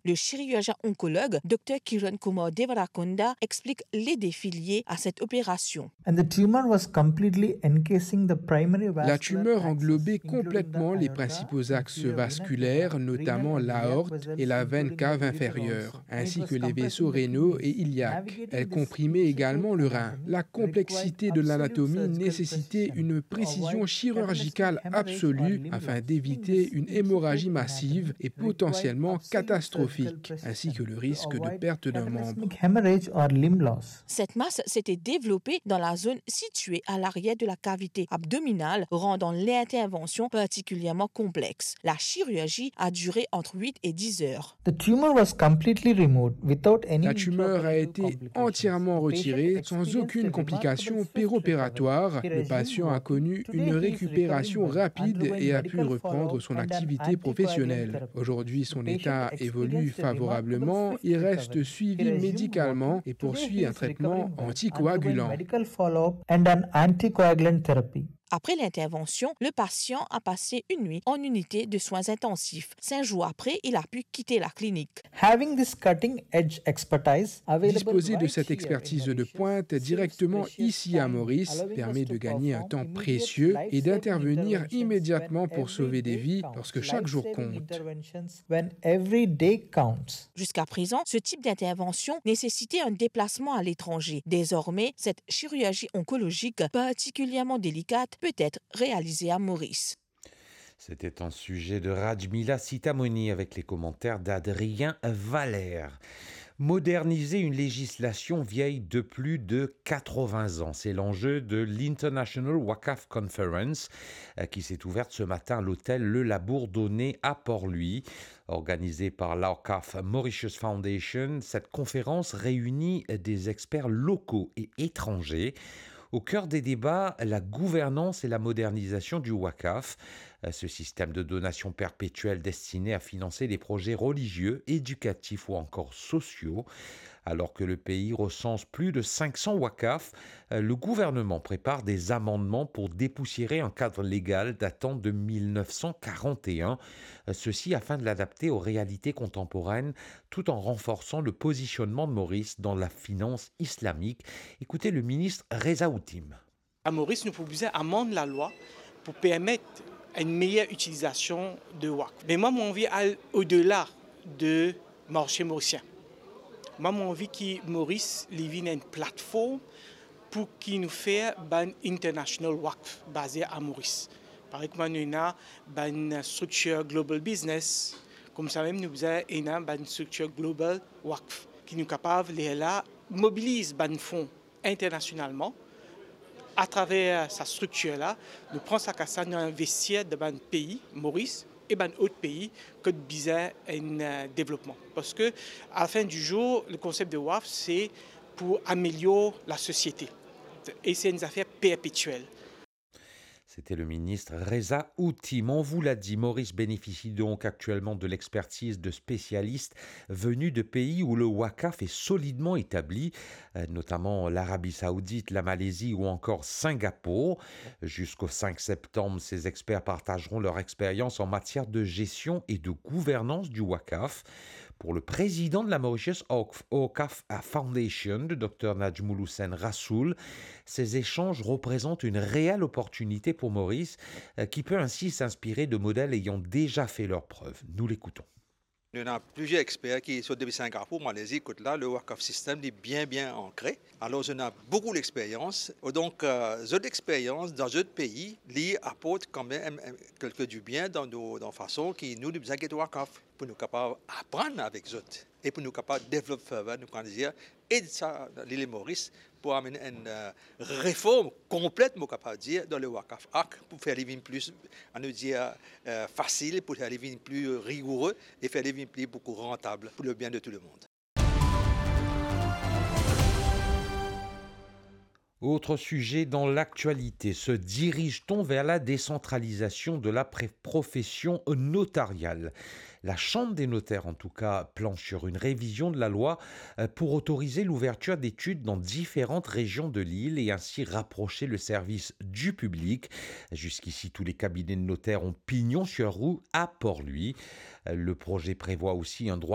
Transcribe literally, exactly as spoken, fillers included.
Le chirurgien oncologue, Dr Kiran Kumar Devarakonda, explique les défis liés à cette opération. And the tumor was completely encasing the primary vascular. La tumeur englobait complètement les principaux axes vasculaires, notamment l'aorte et la veine cave inférieure, ainsi que les vaisseaux rénaux et iliaques. Elle comprimait également le rein. La complexité de l'anatomie nécessitait une précision chirurgicale absolue afin d'éviter une hémorragie massive et potentiellement catastrophique, ainsi que le risque de perte d'un membre. Hemorrhage or limb loss. Cette masse s'était développée dans la zone située à l'arrière de la cavité abdominale, rendant l'intervention particulièrement complexe. La chirurgie a duré entre huit et dix heures. The tumor was completely removed without any. La tumeur a été entièrement retirée sans aucune complication péropératoire. Le patient a connu une récupération rapide et a pu reprendre son activité professionnelle. Aujourd'hui, son état évolue favorablement. Il reste suivi médicalement et poursuit un traitement anticoagulant. Medical follow-up and an anticoagulant therapy. Après l'intervention, le patient a passé une nuit en unité de soins intensifs. Cinq jours après, il a pu quitter la clinique. Having this cutting edge expertise available. Disposer de cette expertise de pointe directement ici à Maurice permet de gagner un temps précieux et d'intervenir immédiatement pour sauver des vies lorsque chaque jour compte. When every day counts. Jusqu'à présent, ce type d'intervention nécessitait un déplacement à l'étranger. Désormais, cette chirurgie oncologique particulièrement délicate peut être réalisée à Maurice. C'était un sujet de Rajmila Sitamoni avec les commentaires d'Adrien Valère. Moderniser une législation vieille de plus de quatre-vingts ans, c'est l'enjeu de l'International Waqf Conference, euh, qui s'est ouverte ce matin à l'hôtel Le Labourdonnais à Port-Louis. Organisée par l'Awqaf Mauritius Foundation, cette conférence réunit des experts locaux et étrangers. Au cœur des débats, la gouvernance et la modernisation du Waqf, ce système de donation perpétuelle destiné à financer des projets religieux, éducatifs ou encore sociaux. Alors que le pays recense plus de cinq cents Waqf, le gouvernement prépare des amendements pour dépoussiérer un cadre légal datant de mille neuf cent quarante et un, ceci afin de l'adapter aux réalités contemporaines tout en renforçant le positionnement de Maurice dans la finance islamique. Écoutez le ministre Reza Outim. À Maurice, nou pou bizin amann lalwa pou permet enn meyer itilizasion de waqf. Me mwa, mo anvi al odela de marse morisien. Mwa, mo anvi ki Maurice, li vinn enn platform pou ki nou fer bann international waqf baze a Maurice. Parey kouma nou ena bann striktir global business, koumsa mem nou bizin ena bann striktir global waqf, ki nou kapav lerla mobiliz bann fon internasionalman. Atraver sa striktir la, nou pran sa kas la, nou investir dan bann pei, Maurice e bann lot pei, kot bizin enn, eh, devlopman. Parski, a la fin di zour, le konsep de waqf, se pou amelior lasosiete. E se enn zafer perpetiel. C'était le ministre Reza Outim. On vous l'a dit, Maurice bénéficie donc actuellement de l'expertise de spécialistes venus de pays où le waqf est solidement établi, euh, notamment l'Arabie Saoudite, la Malaisie ou encore Singapour. Jusqu'au cinq septembre, ces experts partageront leur expérience en matière de gestion et de gouvernance du waqf. Pour le président de la Mauritius Awqf, Awqaf Foundation, le docteur Najmoul Hussain Rasoul, ces échanges représentent une réelle opportunité pour Maurice, euh, qui peut ainsi s'inspirer de modèles ayant déjà fait leurs preuves. Nous l'écoutons. Nou ena plizier exper ki sort depi Singapour, Malezi, kot la, le waqf system, li bien, bien ankre. Alor, zot ena boukou lexperyans. Donk, euh, zot lexperyans dan zot pei, li aport kanmem, euh, kelke dibien dan nou, dan fason ki nou, nou bizin get waqf pou nou kapav aprann avek zot e pou nou kapav devlop further, nou kapav dir, ed sa, lil Moris pou amenn enn, euh, reform konplet, mo kapav dir, dan le Waqf Act pou fer li vinn pli, anou dir, euh, fasil, pou fer li vinn pli rigoure e fer li vinn pli boukou rantab pou le bien de tout le monde. Autre sujet dans l'actualité, se dirige-t-on vers la décentralisation de la pré-, profession notariale ? La Chambre des notaires, en tout cas, planche sur une révision de la loi, euh, pour autoriser l'ouverture d'études dans différentes régions de l'île et ainsi rapprocher le service du public. Jusqu'ici, tous les cabinets de notaires ont pignon sur rue à Port-Louis. Le projet prévoit aussi un droit de